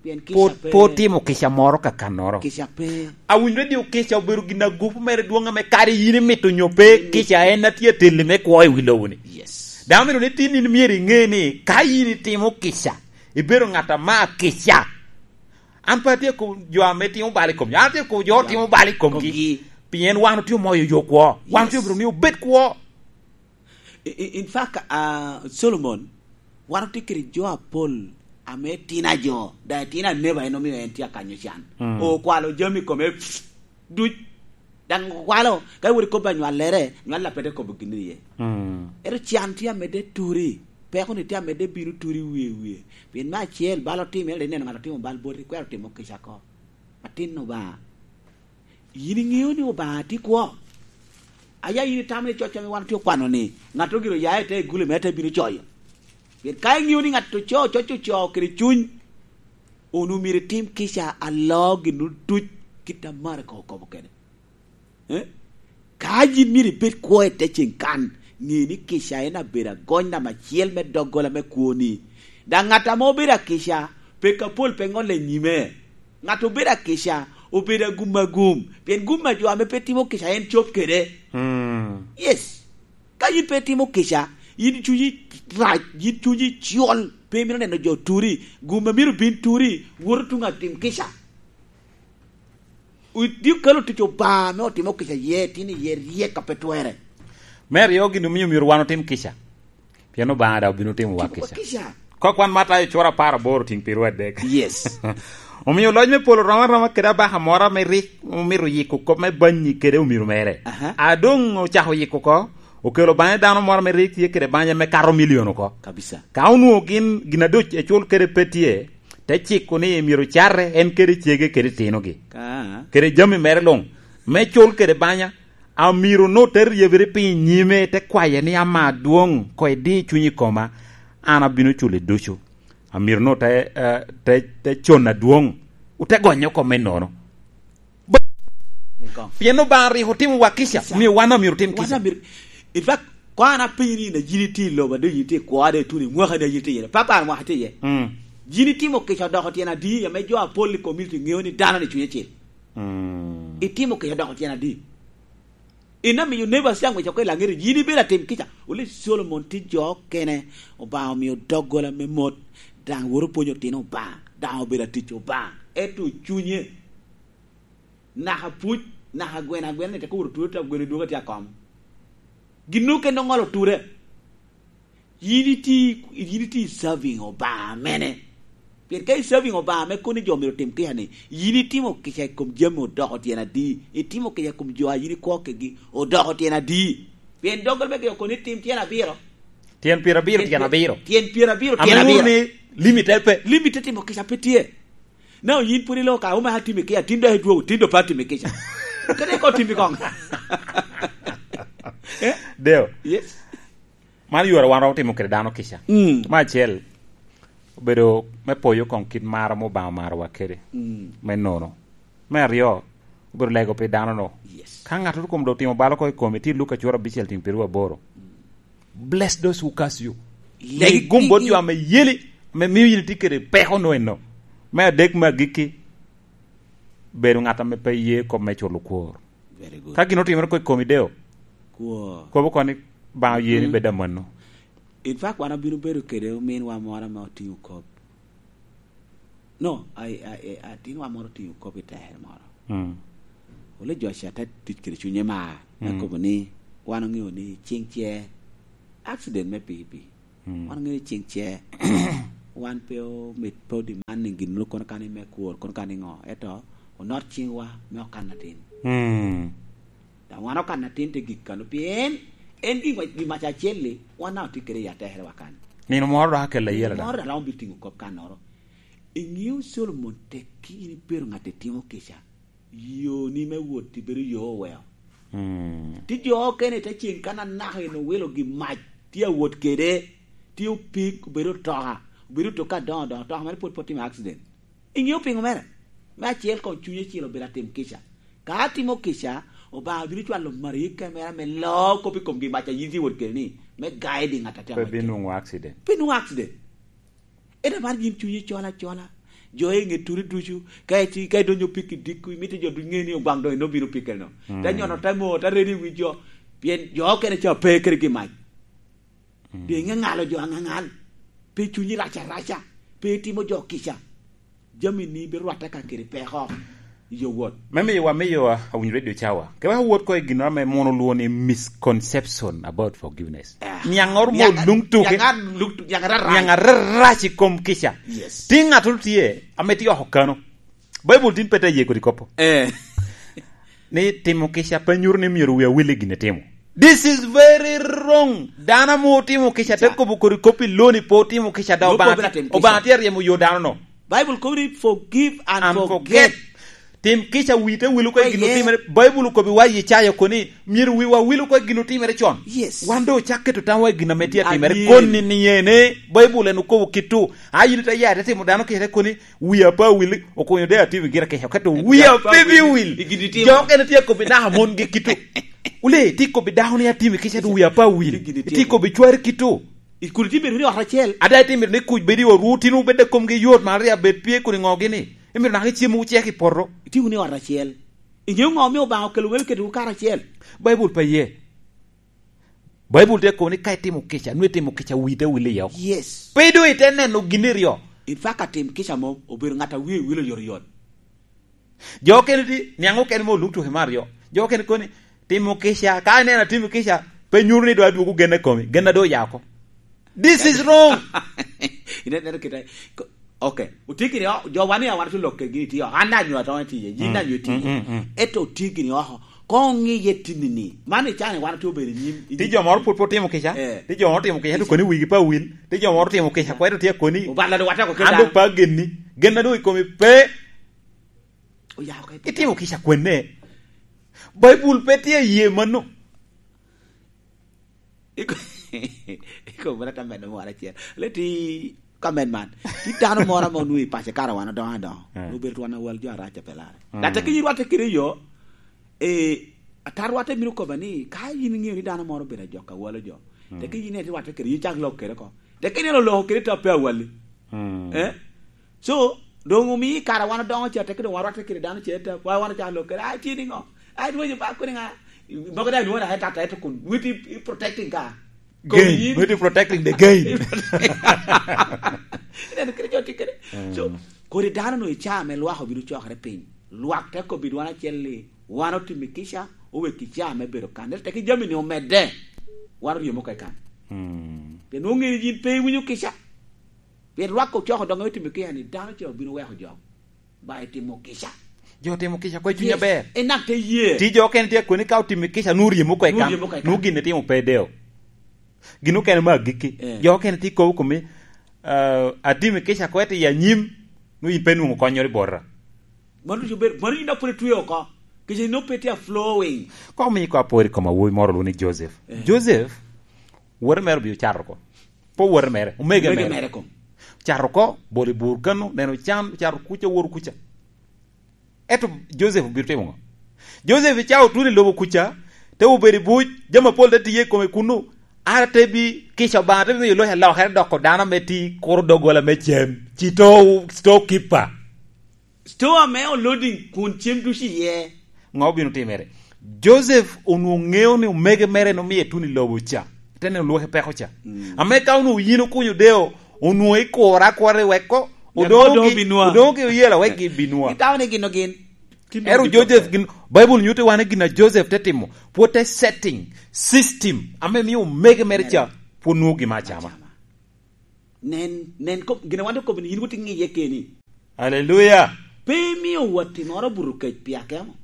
Pien kica pe. Pe otimo kica moro kakannoro. Kica pe. Awinyo radio kica obedo gin agupu mere dwoŋ ame kadi yin imito nyo pe, mm, kica en a tye ateli me kwo i wi lobo-ni. Yes. Dano myero ni tin in myero iŋe ni ka yin itimo kica, ibedo ŋat ama kica. An pe atye kobo jo ame timo bal i komgi. An atye kobo jo timo bal i komgi. Komgi. Pien wan otye omoyo yo kwo. Wan, yes, otye obedo ni obed kwo. I, i, in fact, ah, Solomon, wan otye kede jo apol ame tino ajo, daŋ itino aneba en omio en tye akanyo can. Mm. Okwalo jami i kome duc. Daŋ okwalo, ka iwot ikobbi anywallere, nywalla pe te kobo gin iye. Mm. Ento can tye amedde turi, peko-ni tye amedde bino turi wie wie. Pien me acel, bal otimere, ineno ŋat otimo bal boti, kwero timo kica oko. Atin Obaŋa. Yin iŋeo ni Obaŋa tye kwo? Aya yin itamo ni coc ame wan otye okwano ni, ŋattoro gire oya i te iguli mere te bino coyo? Pien ka iŋeo ni ŋat ocoo coc ocoo kede cuny, onwoŋo myero itim kica aloo ginwu duc kit a Mariko okobo kede. Eh? Ka yin myero ibed kwo i te ceŋ kan, ŋe ni kica en abedo agony namba acel me doggola me kwoni. Daŋ ŋat ame obedo akica, peko apol pe ŋolle i nyime. Ŋat obedo akica, obedo agum agum, pien gum a jo ame pe timo kica en cop kede. Mm. Yes. Ka yin pe itimo kica, yin cunyi rac, yin cunyi col, pe imito neno jo turi, gum a myero bin turi, woto tuŋ atim kica. Itye kelo tic Obaŋa ame otimo kica iye, tin iye ryek a pe twerre. Me aryo, gin omio myero wan otim kica, pien Obaŋa daŋ obino timowa kica. Kok wan Matayo cura apar aboro tiŋ pirwa adek. Yes. Omio loc me polo rom aroma kede abaka moro ame rik omito yiko kop me banyi kede omiro mere. Aha. A doŋ ocako yiko oko, okelo baŋe dano moro ame rik tye kede banya me kato milion oko. Kabisa. Ka onwoŋo gin, gin adoc ecul kede pe tye, te ciko ni myero cate en kede cege kede tinogi, kede jami mere luŋ, me cul kede banya. Amiro-nu te ryebere piny i nyime, te kwaye ni, "Ama adwoŋ, koŋ idi cuny i koma, an abino culi ducu." Amiro-nu te, eh, te, te con adwoŋ, ote gonye oko me nono. Pien Obaŋa rik otimo wa kica, omio wan omyero otim kica. In fact, koŋ an apenyi ni, yin itye i lobo, ado yin itye i kwo, ado ituno i mwaka ni yin itye iye, papa, an mwaka tye iye. Mm. Yin itimo kica odoko tyen adi, ame jo apol i community ŋeo ni dano ni cuny acel? Mm. Itimo kica odoko tyen adi? In amiyo neighbors ca ngwec oko i laŋeti, yin ibedo atim kica. Wule Solomon tye jo okene, Obaŋa omio doggola me mot, daŋ woto pwonyo otino Obaŋa, daŋ obedo atic Obaŋa, ento cunye naka puc, naka gweno agwena ni te kuro tuo, te gweno dwogo tye akom. Gin okene oŋolo ture. Yin iti, yin iti serving Obaŋa mene? Pien ka i serving Obaŋa me koni jo myero otim kica ni, yin itimo kica i kom jami odoko tyen adi? Itimo kica i kom jo a yin ikwo kegi odoko tyen adi? Pien doggola me geko koni tim tyen abiro. Tyen pyerabiro, tyen abiro. Tyen pyerabiro, tyen abiro. Ame wun ni limit pe. Limit timo kica pe tye. Na yin pwod ilo ka, "Omaka timi kica, tin dok idwogo, tin dok pe atimi kica." Kadi ko timi koŋ. Eh? Deo. Yes. Man yore wan romo timo kede dano kica. Mm. Me acel, obedo me poyo koŋ kit mar ame Obaŋa omarowa kede. Mm. Me nono. Me aryo, obedo lego pi dano-nu. Yes. Ka ŋattoro kom dok timo bal oko i komi, tye Luka cura abicel tiŋ pyeraryo aboro. Mm. "Bless those who curse you." Legi. Legi gum bot jo ame yeli, ame mio yin itye kede peko no eno. Me adek, me agikki, bedo ŋat ame pe ye kop me culo kwor. Very good. Ka gin otimere ko i komi, Deo, kwor, kobo oko ni, "Baŋa oye ni bed amanno." In fact, wan abino bedo kede ominwa moro ame otiŋo kop. No, a, a, a, atinwa moro otiŋo kop i tere moro. Mm. Ole Joshua te tic kede cunye mar, me kobo ni, "Wan oŋeo ni cing ce accident me pikipiki." Mm. Wan oŋeo ni cing ce, wan pe omit, pe odemand ni gin moro kono kani me kwor, kono kani ŋo, ento onot ciŋwa me okan atin. Mm. Daŋ wan okan atin te gik kano, pien en gin wa-, gin mac acel-li, wan daŋ otye kede i atekere wa kan. Nino moro dok akella iye. Nino moro dok romo bino tiŋo kop kannoro. Iŋeo Solomon tek ki in ibedo ŋat a timo kica, yoni me wot ibedo yo oweo. Mm. Tye jo okene te cen kan anaka en owilo gi mac, tye awot kede, tye opik, obedo otoka, obedo otoka adoŋo adoŋo, otoka mere pwod pe otimo accident. Iŋeo piŋo mere? Me acel koŋ cunye cil obedo atim kica. Ka atimo kica, Obaŋa bino cwalo malaika mere ame loo kop i komgi mac a yin tye wot kede ni, me guide ŋat a tye. Pe binwoŋo accident. Pe nwoŋo accident. Ento mar yin cunyi col acola. Jo i ŋe turi ducu, ka iti, ka idonyo piki dikku, imito jo ducu ŋe ni Obaŋa doŋ en obino pikere no. Mm. Te nyono, te mo, te redo i wi jo. Pien jo okene ca pe kede gi mac. Mm. Doŋ iŋe ŋalo jo aŋaŋal. Pe cunyi rac araca. Pe itimo jo kica. Jami ni birwatte ka kede peko. Yo wot. Me miyo wa, miyo wa, awinyo radio cawa. Ke wek awot ko i gin ame mono lwo ni misconception about forgiveness. Ah. Niaŋ oro mo lung tuke. Niaŋ ar lung tu-, niaŋ ar arac. Niaŋ ar arac i kom kica. Yes. Ti ŋat oro tye, ame tye oko kano. Baibul tin pe te ye kodi kopo. Eh. Ni timo kica pe nyuto ni myero wi awil i gin itimo. This is very wrong. Dano ame otimo kica te kobo kodi kop i loni pe otimo kica da. Obaŋa tye, Obaŋa tye aryemo yo dano no. Bible kobo ni forgive and forget. Tim kica wi te wil oko i gin otimere. Baibul okobi wa i Icaya koni, myero wiwa wil oko i gin otimere con. Yes. Wan doŋ ocak keto tamwa i gin ame tye atimere. Koni ni ene, Baibul en okobo kito. A yin ite ya ite timo dano kica te koni, "Wia pe awil, okonyo de atimo gira kica." Kato wia pe bi wil. Jo okene tye akobi naka mon gi kito. Wule, tye akobi dako ni atimo kica do wia pe awil. Tye akobi cwari kito. I kudi tye bedo ni ot acel. Ada itye mito ni kuc bedo i otwu, tin wubed i komgi yot, malaria bed pye kodi ŋo gini. Imito naka icem wucek i poto. Itye wunu i ot acel. Iŋeo ŋo omio Obaŋa okelo welo ketowu karacel? Baibul pe ye. Baibul tye kobo ni ka itimo kica, nwe itimo kica wi te wil iye oko. Yes. Pe doŋ ite neno gin iryo. In fact, atim kica mom obedo ŋat a wie wil oyotoyot. Jo okene ti, niaŋ okene mo oluk tuke me aryo. Jo okene koni, timo kica, ka ineno atimo kica, pe nyuto ni do adwogo gen i komi, gen a do oya oko. This is wrong. Ine, neno kite, ko-, okay. Otye gini, oh, jo wan i awan tye lokke gini tye, oh, an anyo atong etiye, yin Mm, anyo etiye. Mm, mm, mm. Eto otye gini, oh, ko ŋiye tinni ni. Man i cani wan tye obedo i nyim, i Ti nyim. Jo moro pwod pe otimo kica. Eh. Ti jo moro otimo kica, to Kica. Koni wigi pe awil. Ti jo moro otimo kica, kweto tye koni. Obalo do wateko keda. An do pe agenni. Gen a do i komi pe. Oya oko i Itimo kica kwenne. Baibul pe tye aye mano. Iko-, iko mera ta medo moro acel. Leti ka med man. Ti dano moro ame onwoŋo i pace kara wan odongo adongo. Mm. Obedo twon awal jo arac a pe lare. Mm. Latte ki rwatte kede yo, eh, ata rwatte mino koba ni, ka yin iŋeo ni dano moro obedo ajok awalo jo, mm, teke yin ite rwatte kede, yin cak lok kede ko. Teke yin iloko kede ta pe awali. Mm. Eh? So, doŋ omii kara wan odongo ca, teke doŋ warwatte kede dano ce ta, wa wan ocako lok kede, "Ai, tye niŋo? Ai, dwogo ba kodi ŋa?" Mogo daŋ inwoŋo daŋ i tata ito kun, witi i protecting ka. Gain. Komi yin. Witi protecting the gain. Ineno kede jo tye kede. Mm. So, kodi dano no i caa me lwak obino cokere piny. Lwak te kobbi dwan acel ni, wan otimo kica, owek i caa me bedo kan. Ento teke jami ni omedde, wan oryemo ka i kan. Mm. Pien nwoŋo ŋeo yin pe iwinyo kica. Pien lwak ocoko doŋ otimo kica ni dano ce obino weko jo. Ba itimo kica. Jo timo kica, kwe cuny Yes. aber. Enak te ye. Ti jo okene tye koni ka otimo kica, nu ryemo kwe Nwoŋo kan. Ryemo kwe kan. Nu gin itimo pe deo. Gin okene me agikki. Eh. Jo okene tye kobo kome, ah, atimo kica kwe ti i anyim, nu yin pe nwoŋo konnyoro i bota. Mano ducu bedo, mano yin dok pwod itweo oko. Kica yin pe tye a flowing. Kok mi ko apor i kom awobi moro olwoŋo ni Joseph. Eh. Joseph, wote mere obio cato oko. Pe wote mere, omege Omege mere. Mere kom. Cato oko, bolo i bur kano, neno can, cato kuca, woto kuca. Ento Joseph obino timo ŋo? Joseph i cawa otuno i lobo kuca, te obedo i buc, jami apol te tiye i kome kunnu, ara te bi kica Obaŋa, te bi miyo loc alokere doko dano ame ti kuro doggola me cem, ci to, to kippa. Store ame oloading kun cem ducu iye. Ŋo obino timere? Joseph onwoŋo ŋeo ni omege mere en omie tuno i lobo ca. Te neno lwaki peko ca. Mm. Ame ka onwoŋo yin okunyo deo, onwoŋo ikuro akura i weko, Wek odoŋo odong gi, binwa. Odoŋo gi oyela wek gin binwa. Gitamo ni gin ogin. Ero Joseph gin, Bible nyuto wan gin a Joseph te timo, pwod te setting, system, ame mio omege mere ca, pwod nwoŋo gin me acama. Acama. Nen, nen, kop-, gin a wan okobo ni yin wot iŋiye keni. Aleluya. Pe imio watti moro buto kec pi akemo.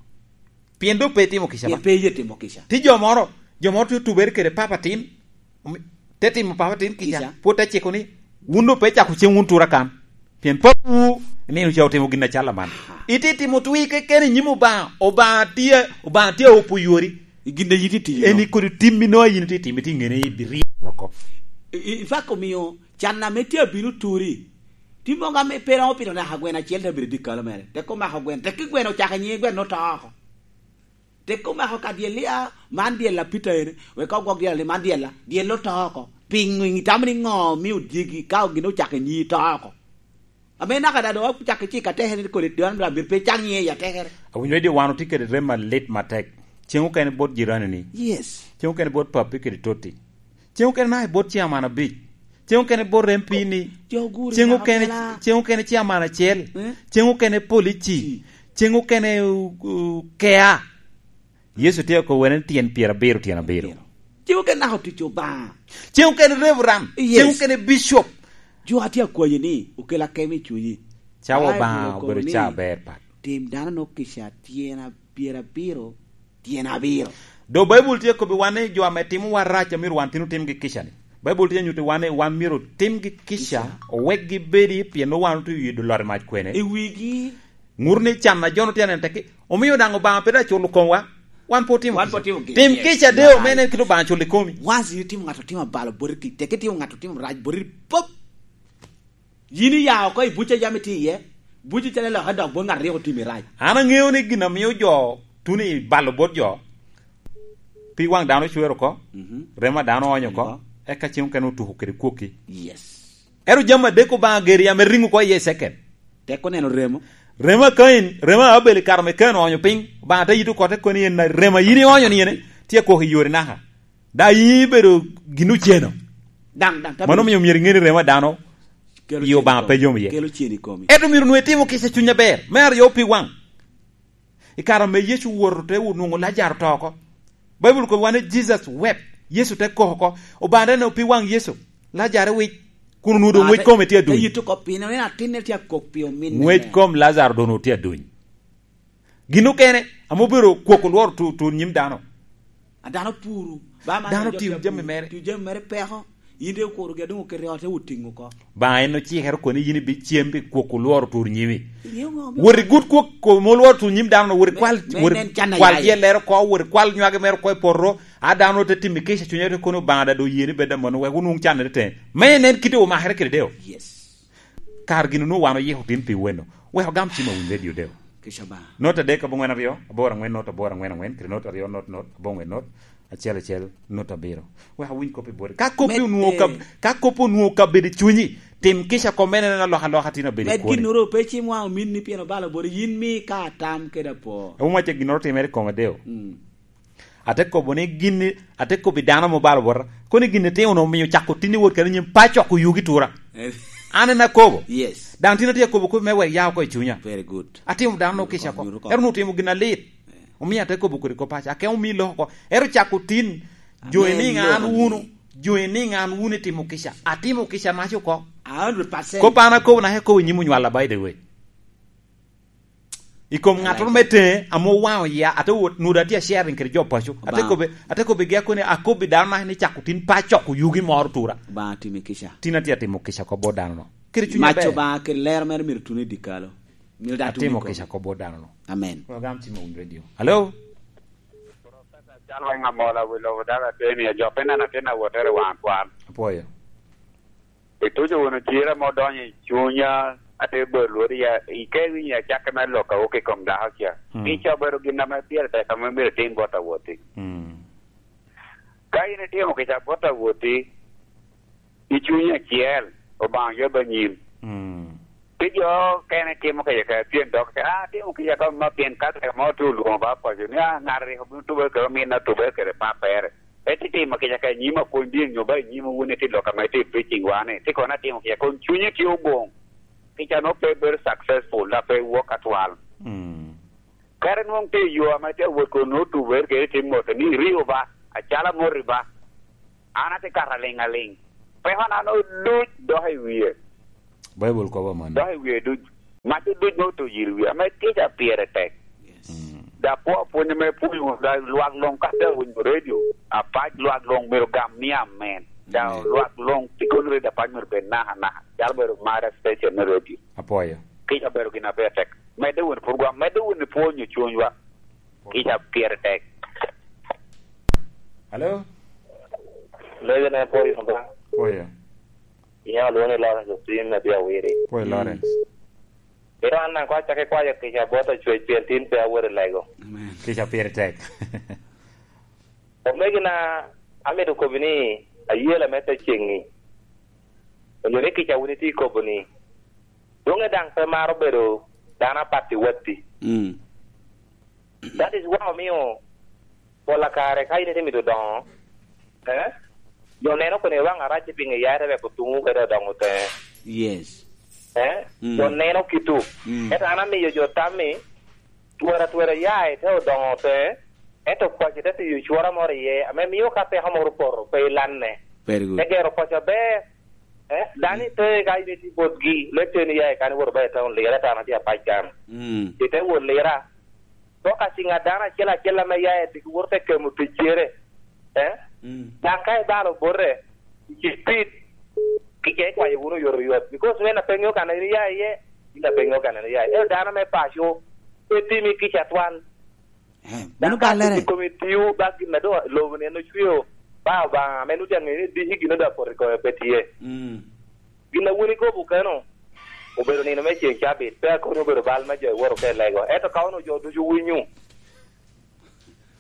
Pien dok pe itimo kica Pien ba. Pe iye timo kica. Ti jo moro, jo moro tye otubere kede papa tin, omi-, te timo papa tin kica, Kica. Pwod te ciko ni, wun dok pe cako cem wun tura kan. Pien papawu nino ca otimo gin acal aman. Aha. Ite timo twi keken i nyim Obaŋa, Obaŋa tye, Obaŋa tye a opo yori. I gin a yin itye tiyo. Eni kodi tim inoa yin itye timo, itye ŋene i biryeko oko. I, i, in fact omio can ame tye abino turi. Ti mogo ame pe romo pito naka gwen acel te bedo i dyekalo mere. Tek omako gwen, tek ki gwen ocako nyiŋe gwen oto oko. Tek omako ka dyel lia, man dyel a Peter ene, wek ka ogwok dyel ni man dyel a, dyel oto oko. Piŋo itamo ni ŋo mio dyegi ka gin ocako nyi to oko? Ame naka da doŋ ocako cik atekere ni kodi dano myero pe cak nyiŋe i atekere. Awinyo ni wan otye kede rem alit matek. Ceng okene bot jiranini. Yes. Ceng okene bot papi kede totti. Ceng okene naka i bot ciaman abic. Ceng okene bot M P ni. Jo guri Ceng naka okene, pela. Ceng okene ciaman acel. Eh? Ceng okene polici. Ci. Ceng okene, uh, uh, kea. Yecu tye okobo wene ni tyen pyerabiro, tyen abiro. Abiro. Ceng okene naka otic Obaŋa. Ceng okene reverend. Yes. Ceng okene bishop. Jo atye akwanyi ni okel akemo i cunyi. Cawa Bible Obaŋa okobo obedo ni ca aber pat. Tim dano nok kica tyen a-, pyerabiro, tyen abiro. Do Baibul tye kobbi wan ni jo ame timo wa rac a myero wan tin otimgi kica ni. Baibul tye nyutti wan ni wan myero otimgi kica, Kica. Owek gibedi, pien nwoŋo wan otye i wi lwar mac kwene. I wigi. Ŋut ni can a jo-nu tye aneno tekki, omio daŋ Obaŋa pe daŋ culo komwa, wan pe otimo Wan pe kica. Otimo kica. Tim Yes. Kica de Right. Omene kit Obaŋa culo i komi. Once you timo ŋat otimo abalo boti, tek itimo ŋat otimo rac boti, pop. Yin iya oko i buc a yam itye iye, buc icalo ilokke dok bot ŋat rik otimi rac. An aŋeo ni gin a mio jo tuno i balo bot jo, pi waŋ dano ocwer oko, Mhm. Remo a dano oonyo oko, Oko. Eka cen okene otuko kede kwokki. Yes. Ero jami adek Obaŋa geri ame riŋo oko iye i ceket. Tek oneno remo. Remo a Kain, remo a Abel i kare me Kain oonyo piny, Obaŋa te yito kote koni en na remo a yin ioonyo ni ene, tye kwok i yori naka. Da yin ibedo gin oceno. Daŋ, daŋ, Mano omio myero iŋe ni remo a dano Kelo i Obaŋa cen i pe komi. Yom iye. Kelo cen i komi. Ento myero nwe itimo kica cuny aber. Me aryo pi waŋ. I kare ame Yecu owoto te onwoŋo Lajaro oto oko. Baibul kobo wan ni Jesus wept. Yecu te kok oko. Obaŋa te neno pi waŋ Yecu. Lajaro wic. Kun onwoŋo doŋ Ah, ngwec te, kome tye te aduny. Yuto oko piny, en atinne tye akok pi ominne. Ngwec kom Lajaro doŋ onwoŋo tye aduny. Gin okene, ame obedo kwok olworo tu-, tur nyim dano. A dano puru, ba man Dano otiyo jami mere. Tiyo jami mere peko. In te okuro gi adoŋo kete i ot, te otiŋo oko. Ba en ocikere kono yin ibi cem pi kwok olworo tur nyimi. Ingeyo ŋo? Wot i gut kwok ko-, ma olworo tur nyim dano, wot i Me-, kwal, me wot i nen can a kwal yaye. Yellere oko, wot i kwal nywage mere oko i poto. A dano te timo kica cunye te kono Obaŋa da do yeni bed amono wek onwoŋ canere te. Me nen kite omakere kede deo. Yes. Kar gin onwoŋo wan oyiko tin pi weno. Wek ogam cim awiny redio deo. Kica ba. Not adek aboŋwen aryo, aboro aŋwen not aboro aŋwen aŋwen, kede not aryo not not, aboŋwen not, acel acel, not abiro. Wek awiny kop i boti. Ka kop Med, onwoŋo kab-, eh. Ka kop onwoŋo kabedo i cunyi, tim kica kom en en alokaloka tin abedo i Med kwoni. Ginnoro pe cim waŋ ominni pien obalo boti, yin mi ka atam kede apo. Awuma ce ginnoro timere i koma deo. Mm. Ate kobo ni gin, ate kobo i dano ame obalo bota. Koni gin itimo no omio cako tin i wot kede nyim pa coko yugi tura. Eh. An en akobo. Yes. Daŋ tin atye akobo kop me wek ya oko i cunya. Very good. Atimo dano no kica oko. Nyuto oko. Ero no otimo gin alit. Eh. Omio ate kobo kodi kop paco. Ake omii lok oko. Ero cako tin. Jo Amen, iniŋ lok an amiyo. Wunu. Jo iniŋ an wunu itimo kica. Atimo kica mac oko. A hundred percent. Kop an akobo naka akobo i nyim onywalla, by the way. I kom ŋattoro me teŋe ame owaŋo iya, ate wot, nudo atye a sharing kede jo paco. Ate Obaŋa. Kobbe, ate kobbigi akoni, akobbi dano naka ni cako tin pe acoko yugi moro tura. Obaŋa timi kica. Tin atye atimo kica oko bot dano no. Kede cunya Mac ber. Obaŋa kede lero mere myero tun i dyekalo. Myero daŋ tun Atimo i kome. Kica oko bot dano no. Amen. Program Cima Wun Radio. Hello? Cal weng amola wi lobo dala teni, ajo pe neno atin awotere waŋ twal. Apwoyo. Ituco wunu cira ma odonyo i cunya, ate bolo lwodi ya, ike winyo acakke me lok a wok i kom dako ca. Hmm. Kica obedo gin ame pire tek ame myero itim bot awoti. Hmm. Ka in itimo kica bot awoti, i cuny acel, Obaŋa yab anyim. Hmm. Pi jo okene timo kica ka pien dok, "Ah, atimo kica ka ma pien ka tek mo te olwoŋo ba paco ni, ah, ŋat rik obino tube kede ominna, tube kede pappere." Eti timo kica ka i nyim akwony din nyo ba i nyim wun iti lok ame iti preaching wa ni, ti kono atimo kica, kun cunyi tye oboŋ. Kica no pe bedo successful, da pe wok atwal. Mm. Kare nwoŋ tye i yo ame tye awot kun nwoŋo tubere kede tim moto ni, "Rio ba, acalo amoti ba, an atye kato aliŋ aliŋ." Peko na no duc dok i wie. Baibul kobo amanno. Dok i wie duc. Mac duc ma oto yiri wie, ame kica pire tek. Yes. Mm. Da po apwony ame pwonyo, da lwak luŋ ka te winyo redio, apac lwak luŋ myero gam ni amen. Da Amen. Lwak luŋ tye kono redio apac myero bed naka naka. Calo bedo Mara station me redio. Apwoyo. Kica obedo gin aber tek. Medde wunu pwod gwa, medde wunu pwonyo cunywa. Kica pire tek. Hello? Lebe ne pwoyo ba. Pwoyo. Iya, olwoŋo ni Lawrence Otim, me Bia Wiri. Pwoyo Lawrence. Pien an daŋ kwa acakki kwayo kica bot Acwec pien tin pe awot i lego. Amen. Kica pire tek. Omegina, amito kobi ni, ayela me te ceŋi. Onyo ni kica wun itye kobo ni, dwoŋe daŋ pe maro bedo dano apat i watti. Mm. That is why omio pol a kare ka in itye mito doŋo, eh, jo neno koni waŋ arac i piŋo iya, ite wek otuŋwu kede odoŋ oteŋe. Yes. Eh, mm, jo neno kitwu. Mm. Ento an amiyo jo tammi, twero atwera ya ite odoŋo oteŋe, ento kwaci te tiyo cwora moro iye, ame mio ka peko moro opoto, pe ilanne. Very good. Te gero kwaci aber, eh, dano ite ka in itye botgi, leb teni ya i kan iwoto ba i taun lira, ento an atye apac kan. Mm. Ite wot lira, Dok aciŋa dano acel acel ame ya i diki woto te kemo ticcere, eh? Mm. Daŋ ka ibalo bote, i speed, kica ikwayo wunu oyotoyot. Because wen apeŋo kan en iya iye, in apeŋo kan en iya iye. Ento dano me paco, pe timi kica twal. Eh, daŋ bino ka ballere. I komi tiwu, ba gin a doŋ lobo ni en ocweo, ba Obaŋa ame nuti aŋeyo ni diki gin oda poto i kome pe tye. Mm. Gin a wun ikobo keno, obedo nino me ceŋ cabit, pe akoni obedo bal me jo iwoto ka ilego. Ento ka onwoŋo jo ducu winyo,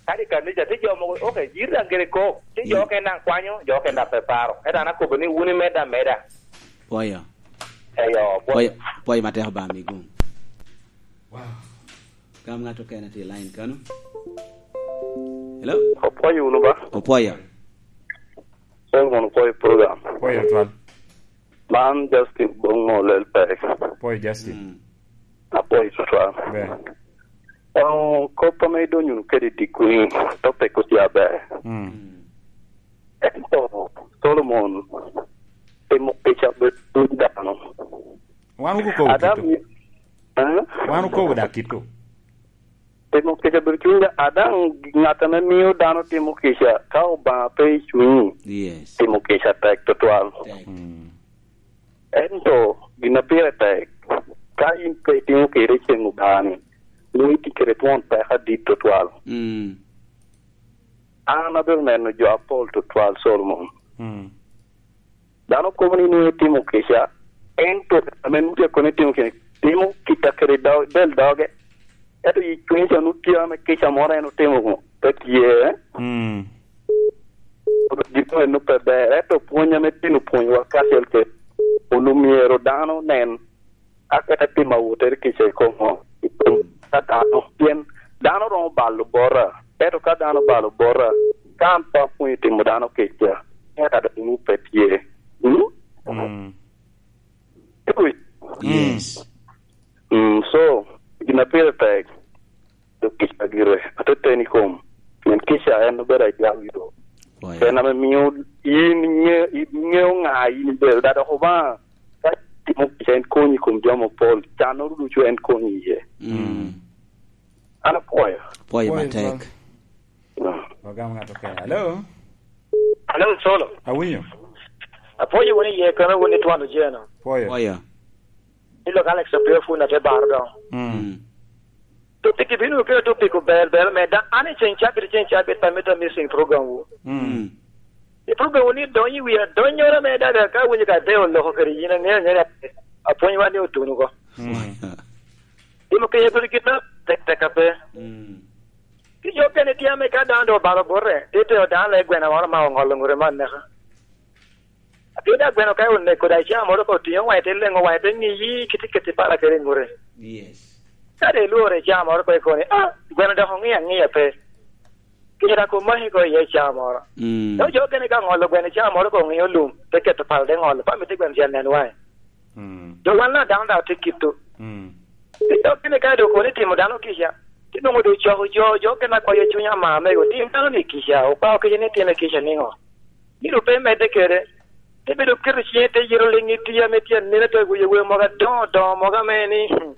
kadi i kanica, tye jo mogo, ok, jiri daŋ gire kok, tye jo okene daŋ kwanyo, jo okene daŋ pe paro. Ento an akobo ni wun imedde ameda. Pwoyo. Eyo, pwoyo. Pwoyo, pwoyo matek Obaŋa mi gum. Wow. Gam ŋat okene tye i line kano. Hello? Opwoyo wunu ba? Opwoyo. Pwoyo wunu, pwoyo program. Pwoyo twal. Man Justin Bong mo lel pek. Pwoyo Justin. Mm. Apwoyo tutwal. Ber. Oh, kop ame idonyo wunu kede i dikku-ni, topic otye aber. Mm. Ento Solomon timo kica bed cuny dano. Wan wukobo Adam kito. Eh? Wan wukobo dak kito. Timo kica bed cuny dano. Adaŋ ŋat ame mio dano timo kica, ka Obaŋa pe i cunyi, Yes. timo kica tek tutwal. Tek. Mm. Ento gin a pire tek, ka in pe itimo kede i ceŋ Obaŋa-ni, nwoŋo itye kede twon peko adit tutwal. Mm. An abedo neno jo apol tutwal, Solomon. Mm. Dano kobo ni nwoŋo itimo kica, ento ame nwoŋo tye kono itimo kica, timo kica kede do-, del doge. Ento i cunye ca nwoŋo tye ame kica moro en otimo pe tye. Mm. Gin meno pe ber, ento pwony ame tin opwonyowa kacel kede, onwoŋo myero dano nen aketa tim awotere kica i kom ŋo? I kom ka dano. Pien dano romo balo bota, ento ka dano balo bota, ka an pe apwonyo timo dano kica, ento adaŋ nwoŋo pe tye. Mm? Mm. Iwinyo? Yes. Mm, so, gin a pire tek, dok kica gire, ateten i kom. Pien kica en obedo ajwal yo. Oya. En ame mio yin inge-, iŋeo ŋa yin ibedo, da dok Obaŋa ka timo kica en konyi i kom jo mapol, cannoro ducu en konyi iye. Mm. An apwoyo. Apwoyo Apwoyo matek. Twal. Mm. Wagam ŋat okene. Hello? Hello, Solo. Awinyo. Apwoyo wun iye kono wun itwalo jeno. Apwoyo. Oya. Ilok Alex Opio Fun ate baro doŋ. Mm. Mm. Topic ibino kelo topic ober ber me da an i ceŋ cabit, ceŋ cabit pa mito missing program wu. Mm. Mm. I program wu ni donyo i wi adonnyoro me da, da ka winyo ka de oloko kede yin aŋeyo aŋeya apwony wan ni otuno ko. Mm. Timo kenya kodi kit na tek tek ape. Mm. Ki jo kene tye ame ka dano do obalo bote, ti teo dano le gwena moro ma oŋolo ŋure man neka. Atin da gweno ka oneko da icaa moro ka otiŋo waŋe te leŋo waŋe te ŋiyi kiti keti pala kede ŋure. Yes. Ka de ilworo icaa moro ko ikoni, ah, gweno dok oŋiyo aŋiya pe. Kit a komaki ko iye icaa moro. Mm. Dok jo kene ka ŋolo gweno icaa moro ko oŋiyo lum, te keto pala te ŋolo, pa miti gweno ca nen waŋe. Mm. Dok wan na dano daŋ tye kito. Mm. Dok kene ka dok kono itimo dano kica, ti nwoŋo dok coko jo, jo kene akwayo cuny ama mego, tim dano ni kica, okwao kica ni itime kica niŋo? Myero pe medde kede. Te bedo keto ciŋe te yero liŋ i tye ame tye anene te wiye wer mogo adoŋo doŋo mogo ame ni, hmm,